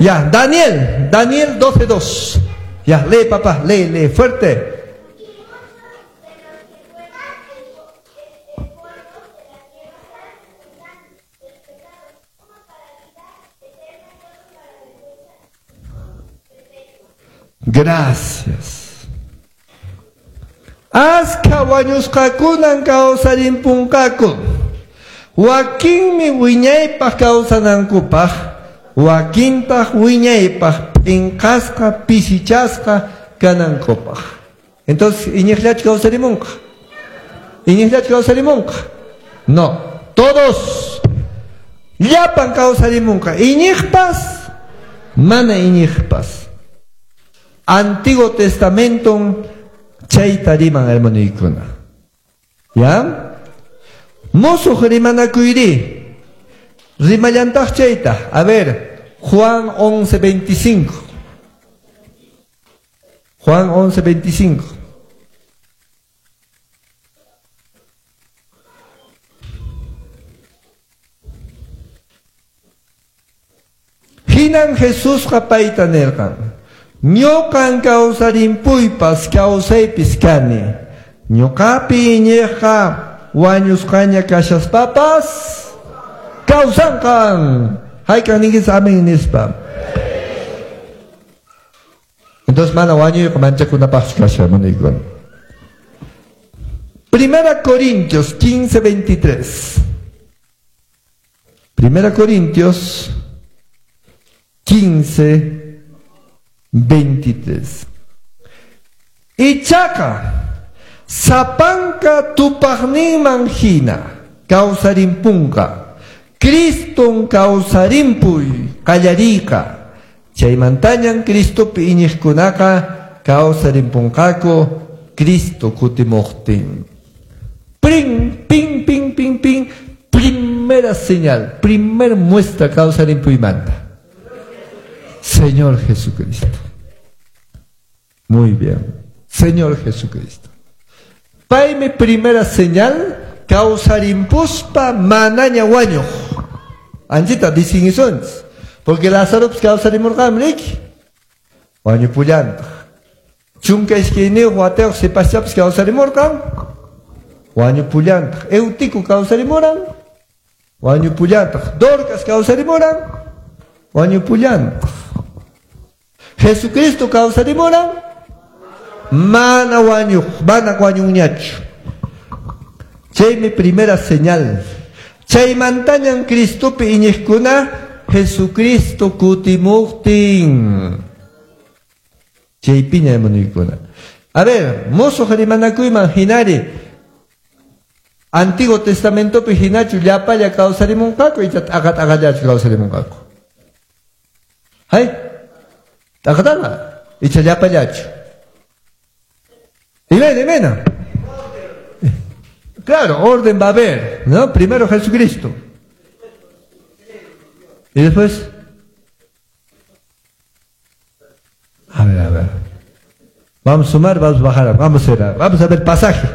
Ya, Daniel, Daniel 12:2. Ya, lee papá, lee, lee, fuerte. Gracias. Aska wañusqakunan kawsarimpunqaku. Wakinmi wiñaypaq kawsanankupaq, wakintaq wiñaypaq p'inqasqa, pisichasqa kanankupaq. Entonces, iñiqllachu kawsarimunqa? Iñiqllachu kawsarimunqa? No, todos. Llapan kawsarimunqa. Iñiqpas, mana iñiqpas. Antiguo Testamento chayta riman hermanuykuna. ¿Ya? Musuq rimanakuyri. Rimallantaq chayta. A ver, Juan 11:25. Juan 11:25. Hinan Jesusqa payta nirqan. Ñuqan kawsarimpuypas kawsaypis kani. Ñuqapi iñiqqa wañusqaña kashaspapas kawsanqan. Hayk'aq ninkichis amén nispa. Entonces mana wañuyqa manchakunapaqchu kashan, hermanoykuna. Primera Corintios 15:23. Primera Corintios 15:23. Ichaqa sapanka tupaqninman hina kawsarimpunqa. Criston kawsarimpuy qallariyqa. Chaymantañan Cristopi iñiqkunaqa kawsarimpunqaku Cristo kutimuqtin. Prin, pin, pin, pin, pin. Primera señal, primer muestra kawsarimpuymanta. Señor Jesucristo. Muy bien. Señor Jesucristo. Paymi primera señal kawsarimpuspa manaña wañuq. Anchita distinguisonchis. Porque Lázaro kawsarimurqanmi riki. Wañupullantaq. Chunka iskayniyuq watayuq sipaschapas kawsarimurqan. Wañupullantaq. Eutico kawsarimuran. Wañupullantaq. Dorcas kawsarimuran. Wañupullantaq. Jesucristo kawsarimuran. Mana wañuq, mana wañunñachu. Chaymi primera señal. Chaymantañan Cristopi iñiqkuna Jesucristo kutimuqtin. Chaypiña hermanuykuna. A ver, musuq rimanakuyman hinari Antiguo Testamentopi hinachu llapalla kawsarimunqaku icha t'aqa t'aqallachu kawsarimunqaku. Hay? T'aqa t'aqa icha llapallachu. Imayna, imayna. Claro, orden va a haber, ¿no? Primero Jesucristo. Y después, a ver, a ver. Vamos a sumar, vamos a bajar, vamos a ver pasaje.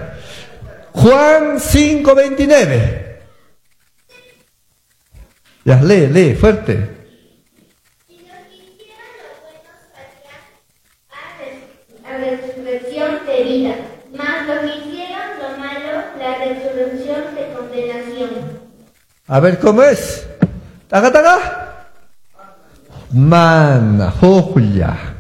Juan 5:29. Ya, lee, lee, fuerte. Y los que hicieron lo bueno salían a resurrección de vida, mas los que hicieron lo malo, la resurrección de condenación. A ver, ¿cómo es? Taga, taga. Mana, joya.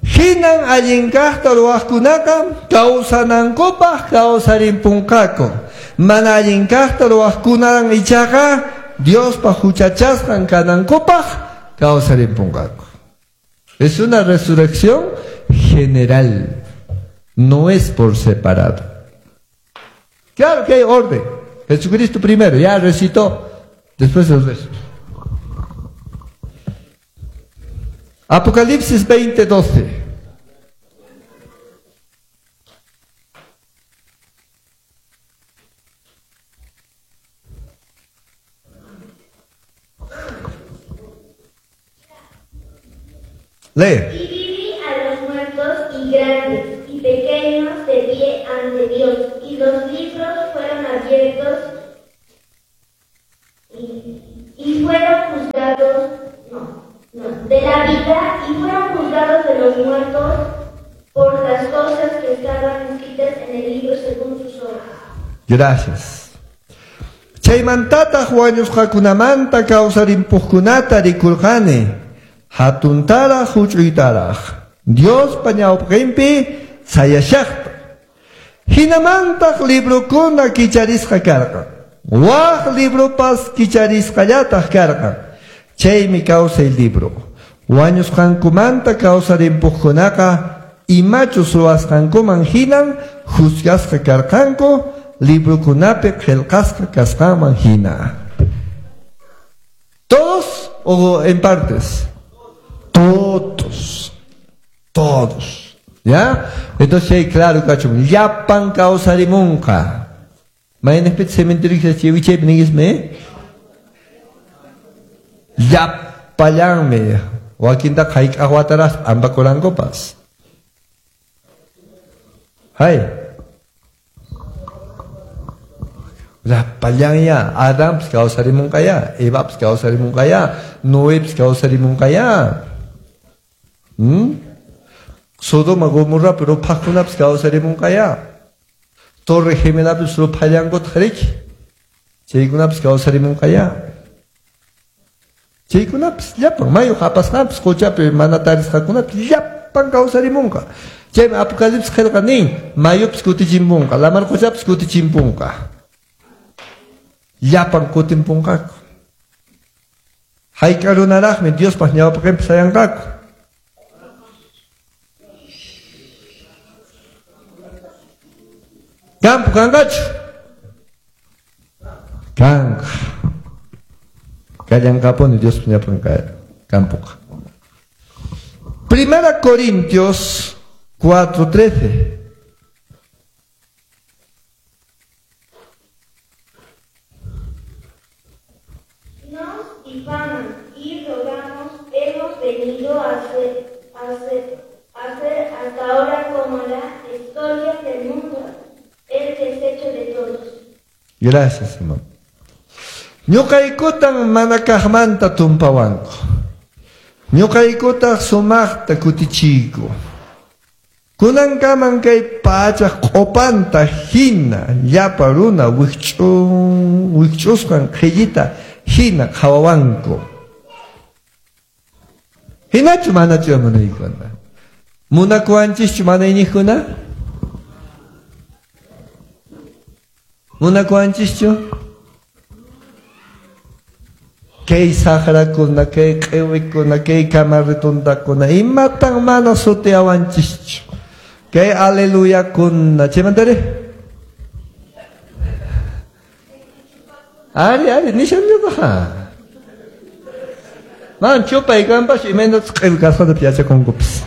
Hinan allinkaqta ruwaqkunaqa kawsanankupaq kawsarimpunqaku. Mana allinkaqta ruwaqkunan ichaqa Diospa huchachasqan kanankupaq kawsarimpunqaku. Es una resurrección general, no es por separado. Claro que hay orden. Jesucristo primero, ya recitó, después el resto. Apocalipsis 20:12. Lee. Y viví a los muertos y grandes y pequeños de pie ante Dios, y los libros fueron abiertos y fueron juzgados, los muertos por las cosas que estaban escritas en el libro según sus obras. Gracias. Chaymantataq wañusqakunamanta kawsarimpuqkunata rikurqani, hatuntaraq huch'uytaraq, Diospa ñawpaqinpi sayashaqta. Hinamantaq librokuna kicharisqa karqan. Waq libropas kicharisqallataq karqan. Chaymi kawsay libro. Wañusqankumanta kawsarimpuqkunaqa imachus ruwasqankuman hinan juzgasqa karqanku, librokunapi qillqasqa kasqanman hina. ¿Todos o en partes? Todos. Todos. ¿Ya? Entonces, sí, claro, kachun. Llapan kawsarimunqa. Maynipit cementerio chiwichaypi ningismi? Llapallanmi. Wakintaqa hayk'aq wataraq p'ampakurankupas. Hay. Llapallanya. Adanpas kawsarimunqaya, Evapas kawsarimunqaya, Noepas kawsarimunqaya. Sodoma Gomorrapi ruphaqkunapas kawsarimunqaya. Torre Gemelapis ruphallankutaq riki. Chaykunapas kawsarimunqaya. Chaykunapas llapan mayu hapasqanpas quchapi mana tarisqakunapas llapan kawsarimunqa. Chaymi Apocalipsis qillqa nin, mayupas kutichimpunqa, lamar quchapas kutichimpunqa. Llapan kutimpunqaku. Hayk'a runaraqmi Diospaq ñawpaqinpi sayanqaku. Campo kanqachu? Kanqa. Kallanqapuni Diospa ñawpaqinqa campoqa. Primera Corintios 4:13. Nos difaman y rogamos, hemos venido a ser hasta ahora como la escoria del mundo, el desecho de todos. Gracias, hermano. Ñuqaykutan mana kaqmanta tumpawanku. Ñuqaykutaq sumaqta kutichiyku. Kunankaman kay pachaq q'upanta hina llapa runa wikch'usqan qhillita hina qhawawanku. Hinachu manachu munaykuna? Munakuwanchischu mana iñiqkuna? Munakuwanchischu? Kay saqrakuna, kay q'iwikuna, kay kamarrituntakuna, imatan mana sutiyawanchischu? Kay aleluyakuna, chaymantari? Ari, ari, nishanñataqa. Man chupay kanpas imaynatas q'iwi kasqanta yachakunkupas.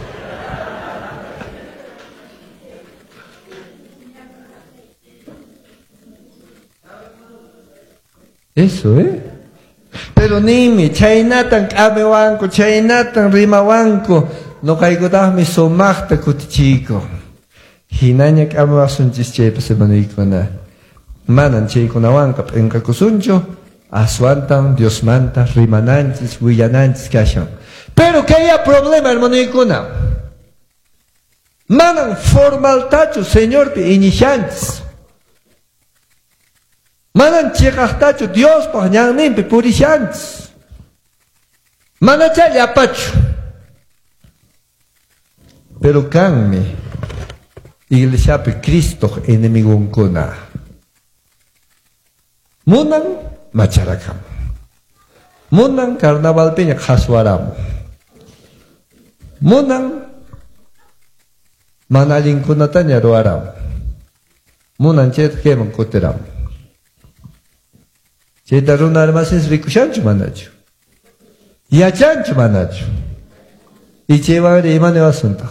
Eso, ¿eh? Pero nimi, chaynatan k'amiwanku, chaynatan rimawanku, nuqaykutaqmi sumaqta kutichiyku. Hinaña k'amiwasunchis chaypas hermanoykuna. Manan chaykunawanqa p'inqakusunchu, aswantan Diosmanta rimananchis, willananchis kashan. Pero kay problema, hermanoykuna. Manan formaltachu Señorpi iñishanchis. Manan chiqaqtachu Diospaq ñanninpi purishanchis. Manachá llapachu. Pero kanmi iglesiapi Cristoq enemigunkuna. Munan macharakamu. Munan carnavalpiña qhaswaramu. Munan mana allinkunataña ruwaramu. Munan chayta kayman kutiramu. Chayta runa almacenes rikushanchu manachu? Yachanchu manachu? Y chaywanri ima niwasuntaq?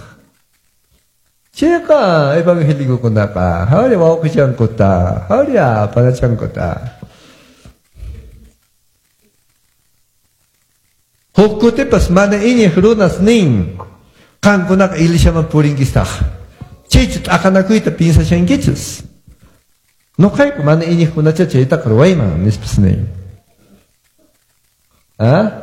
Chayqa evangélicokunaqa hawri wawqichankuta, hawri panachankuta. Huk kutipas mana iñiq runas nin, qankunaqa iglesiaman purinkistaq. Chaychu t'aqanakuyta piensashankichis. Nuqayku mana iñiqkunacha chaytaqa ruwayman nispas nin. ¿Ah?